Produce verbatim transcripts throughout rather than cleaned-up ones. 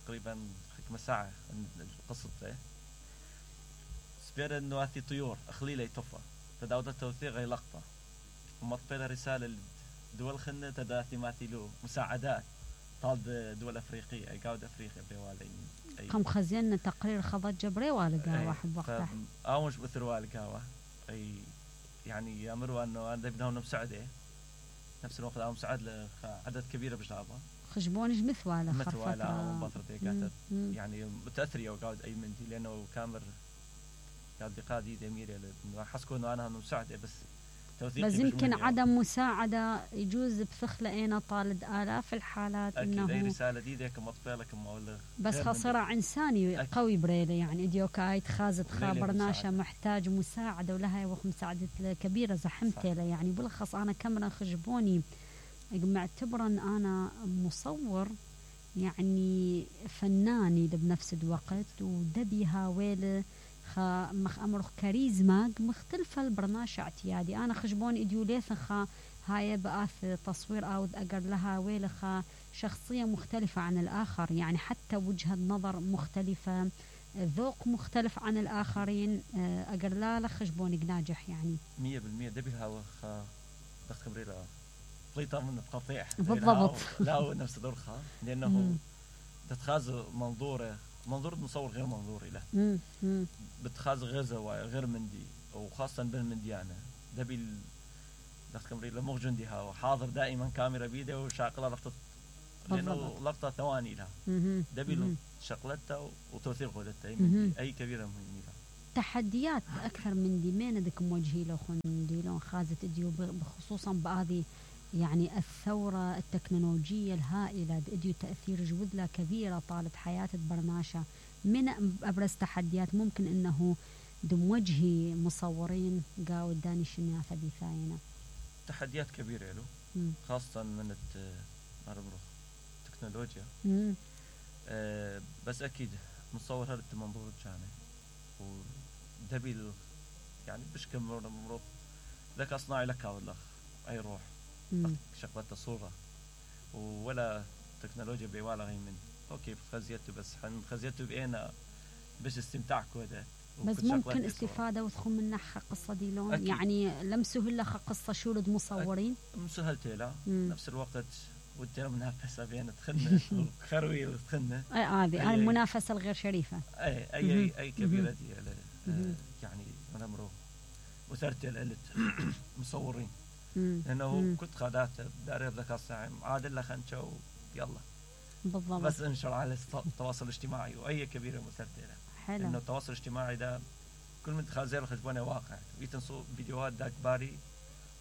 تقريبا حكمة ساعة قصته سبير انه هاتي طيور اخليله يطفى تداود التوثيق غي لقطة ومطبيله رسالة لدول خنة تداثي ماثيلو مساعدات طالب دول افريقية اي قاود افريقيا بريوالي قام خزينا تقرير خضت جبري والقا واحد وقتها او مش بثر والقا اي يعني يامروا انه انا بدهم مساعدة نفس الوقت او مساعد لعدد كبير بجابه خشبونج مثواله مثواله او بطرتي قاعده يعني متاثريه وقاعد اي منتي لانه كامر قاعد بقادي دمير انه حسكوا انه انا مساعده بس بس يمكن عدم مساعده يجوز بثخله انا طالد الاف الحالات انه اي رساله دي ذيك مطبيه لك مولغ بس خساره انساني قوي بريله يعني اديو كايت خازت خابرناشه محتاج مساعده ولها وخ مساعده كبيره زحمته يعني بلخص انا كاميرا خجبوني معتبرا انا مصور يعني فناني بنفس الوقت ودبي هاويله خا مخ امر كاريزما مختلفه البرنامج اعتيادي انا خجبون اديوليث خا هاي بآث تصوير او اقر لها ويلخا شخصيه مختلفه عن الاخر يعني حتى وجهه نظر مختلفه ذوق مختلف عن الاخرين اقر لا لخجبون ناجح يعني مية بالمية دبي هاو خا بس خبري لا طليطه من القطيع بالضبط لا نفس دورخا لانه تتخاذ منظوره منظور مصور غير منظوري له بتخاذ غير زوايا غير مندي وخاصه بالمنديانه دبي دخل لمغ جندي هاو حاضر دائما كاميرا بيده وشاقله لقطه لانه لقطه ثواني لها دبي شغلتها وتوثيق ودتها اي كبيره مهمه لها تحديات اكثر من دي مين بدك موجهي له خندي لون خازت اديو بخصوصا بهذه يعني الثورة التكنولوجية الهائلة اديو تأثير جودلة كبيرة طالت حياة برناشة من أبرز تحديات ممكن أنه دموجهي مصورين قاو داني شنياثة بثاينة تحديات كبيرة له خاصة من التكنولوجيا آه بس أكيد مصور هذا المنظور جاني ودبي يعني بشكل مرض ذكاء اصطناعي لك والله أي روح شغلت الصورة ولا تكنولوجيا بيوالا غير من اوكي خزيته بس حن خزيته بينا باش استمتاع كوده بس ممكن استفادة وتخون من نحا قصة دي لون أكيد. يعني لمسه هلا قصة شورد مصورين مسهلت لا نفس الوقت ودي منافسة بين تخنة وخروي وتخنة اي هذه هاي المنافسة الغير شريفة اي اي اي, أي كبيرة دي آه يعني انا مرو وثرت الالت مصورين لانه كنت خادات داري الذكاء الصناعي عادل خنشو يلا بالضبط بس انشر على التواصل الاجتماعي واي كبيره مسرتله حلو انه التواصل الاجتماعي ده كل من تخازير خجبونه واقع ويتنصو فيديوهات داك باري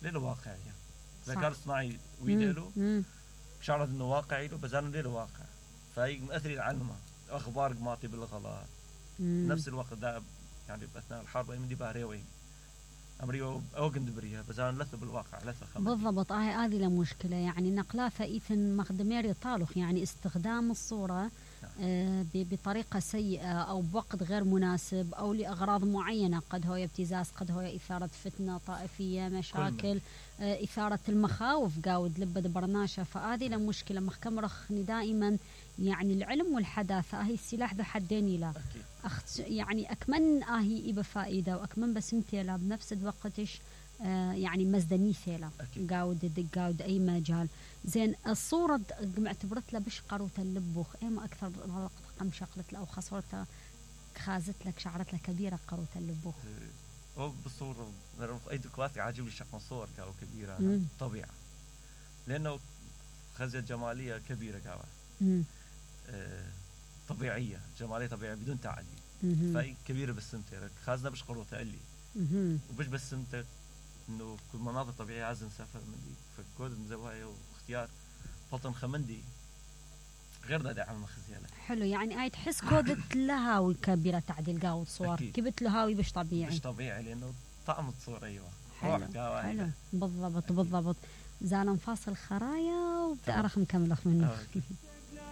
للواقع يعني الذكاء الصناعي ويدلو بشعر انه واقعي له بزانه له واقع فهي مأثر العلمه اخبار قماطي بالغلط نفس الوقت ده يعني باثناء الحرب من دي باريوي أمريو أوجن دبريها بزان لثة بالواقع لثة خمسة بالضبط هاي هذه المشكلة يعني نقلاثة إيثن مخدمير طالخ يعني استخدام الصورة آه بطريقة سيئة أو بوقت غير مناسب أو لأغراض معينة قد هو ابتزاز قد هو إثارة فتنة طائفية مشاكل آه إثارة المخاوف قاود لبد برناشة فهذه المشكلة محكم رخني دائما يعني العلم والحداثة هي السلاح ذو حدين لا أخت يعني أكمن آهي إبا فائدة وأكمن بس متيلا بنفس الوقتش آه يعني مزدني ثيلا قاود قاود أي مجال زين الصورة معتبرت له بش قروت اللبوخ إما أكثر قم شقلت له أو خسرتها خازت لك شعرت له كبيرة قروت اللبوخ هو بالصورة أي دكواتي عاجب لي شكل صور كاو كبيرة طبيعة لأنه خزية جمالية كبيرة كاو آه طبيعية جمالية طبيعية بدون تعديل فهي كبيرة بالسمتة خازنا بش قروتها اللي وبش بالسمتة إنه كل مناطق طبيعية عايز نسافر من دي فكود مزوايا واختيار فطن خمندي غير ده دعم خزيالة حلو يعني هاي تحس كودت لها وكبيرة تعديل قاود صور كبت لهاوي بش طبيعي بش طبيعي لأنه طعم الصورة أيوة حلو, حلو. بالضبط بالضبط زال نفاصل خرايا وبتعرف نكمل منه